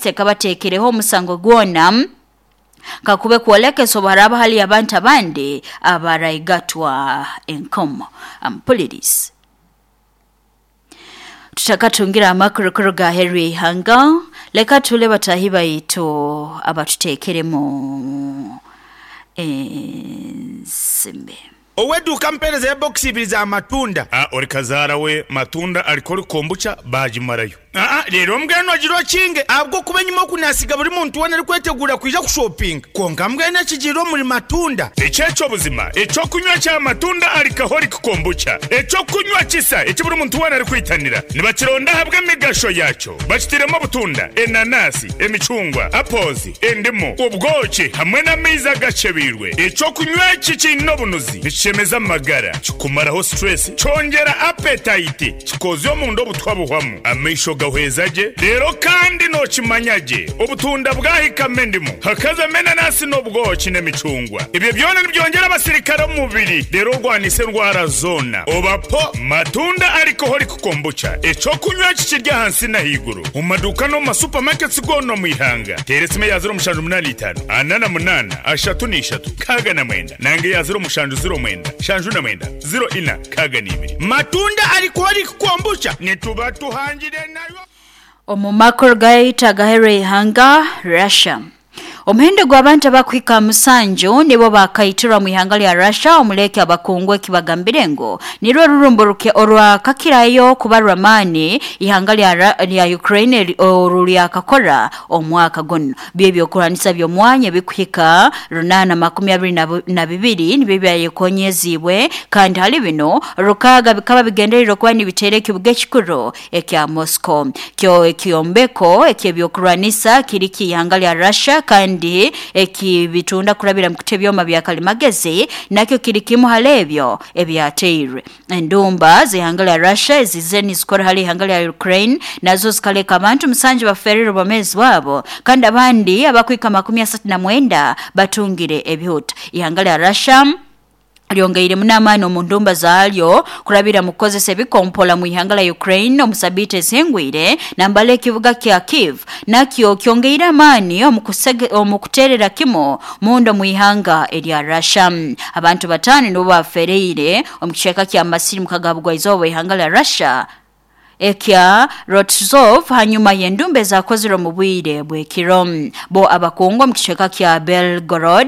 tekabateekereho omusango gwona kakube kwolekesa obuharaba hali abantu abandi abaraigatwa enkomo. Ampulirizi, tutakatungira amakuru kuruga aheru y'ihanga, leka tule batahi baitu abatuteekeremu ensimbi. Ow'eduuka ampeereza ya bokisi ibiri za matunda. A Ori kazaara we matunda arikora kombucha baagimarayo. Aa Reero mbwenu ogire okinge ahabw'okuba enyima oku naasiga buri muntu weena arikweteguura kwija kushopinga. Kwonka mbwenu ekigiire omuri matunda. Eki eky'obuzima, eky'okunywa kya matunda alcoholic kombucha, eky'okunywa kisa eki buri muntu weena arikwitanira. Nibakironda ahabw'emigasho yaakyo. Bakitairemu obutunda, enanasi, emicungwa, apples, endimu, obwoki hamwe n'amaizi agakyebeirwe. Eky'okunywa eki kiine obunuzi, nikishemeza amagara, kikumaraho stress, kyongyera appetite, kikoozya omunda obutwa buhwamu, amaisho gahweza gye, reero kandi nookimanya gye obutunda bwahikamu endimu, hakazamu enanasi n'obwoki n'emicungwa. Ebyo byona nibyongyera abasirikare omu mubiri reero orwanise endwara zoona. Oba po matunda alcoholic kombucha, eky'okunywa eki kiri ahansi n'ahaiguru omu maduuka n'omu ma supermarkets goona omu ihanga. Teera esimu eya 0785 48 33 69 nanga eya 0709 79 04 62. Matunda alcoholic kombucha nituba tuhangire nayo. Omu makuru gaitu agaheru y'ihanga, Russia. Omuhendo gw'abantu abakuhika 7 nibo bakaitirwa mu ihanga lya Russia omuleke abakungu ekibagambire ngu nirwo rurumbo orwakakirayo kuba rw'amaani ihanga lya Ukraine oru lyakakora omwaka guno. Byo ebyokurwanisa by'omwanya ebikuhika 822 nibyo byayekonyezibwe, kandi hali bino 6 bikaba bigendererwa kuba nibiteera ekibuga ekikuru ekya Moscow. Kyo ekyombeko eky'ebyokurwanisa kiri ky'ihanga lya Russia kandi ekibitunda kurabira mu kuta ebyoma bya kalimagezi nakyo kiri kimu hali ebyo ebyateirwe. Endumba z'ihanga lya Russia ezize nizikora hali ihanga lya Ukraine nazo zikaleka abantu 7 baferire obwomeezi bwabo kandi abandi abakuhika 39 batungire ebihuta. Ihanga lya Russia lyongeire muno amaani omu ndumba zaalyo kurabira mu kukozesa ebikompola mu ihanga lya Ukraine omu sabiiti ezihingwire, nambala ekibuga kya Kiev nakyo kyongeire amaani omu kuteerera kimu munda omu ihanga erya Russia. Abantu 5 nibo bafereire omu kicweka kya Masiri mu kagabugwaizooba bw'ihanga lya Russia ekya Rostov hanyuma y'endumba ezakozirwe omu bwire bw'ekiro. Bo abakungu omu kicweka kya Belgorod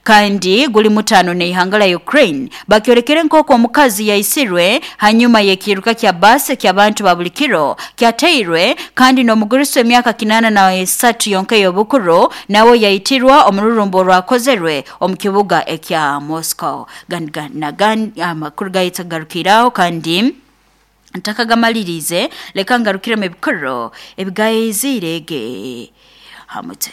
kandi guli mutano n'ihanga lya Ukraine bakyolekere nk'oku omukazi yaisirwe hanyuma y'ekiiruka kya baasi eky'abantu ba buli kiro kyateirwe, kandi n'omugurisi w'emyaka 83 yonka ey'obukuru nawe yaitirwa omururumbo orwakozerwe omu kibuga ekya Moscow. Amakuru gaitu agarukiraho kandi ntakagamaliriize, leka ngarukiremu ebikuru ebigayeziire ge hamute.